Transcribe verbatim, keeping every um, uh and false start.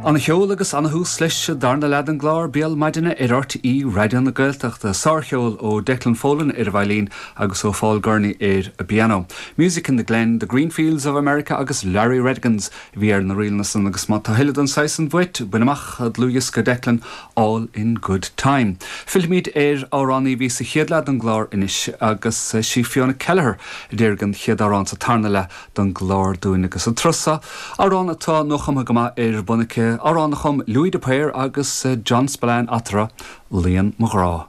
An-cheol agus ana-thús leis an darna leath den gclár Béal Maidine ar R T É Raidió na Gaeltachta. Sárcheol ó Declan Folan ar an veidhlín agus ó Paul Gurney ar an bpianó. Music in the Glen, The Green Fields of America agus Larry Rhedigans bhí ar na ríleanna san agus má tá tuilleadh den saghas san uait, bain amach dlúthdhiosca Declan, All in Good Time. Fillfimid ar amhránaí bhí sa chéad leath den gclár anois agus sí Fiona Kelleher a déarfaidh an chéad amhrán sa tarna leath den gclár dúinn agus an turas seo. Amhrán atá nuachumtha go maith ar bun aici, amhrán a chum Louis de Paor agus John Spillane eatarthu, Luíonn mo ghrá.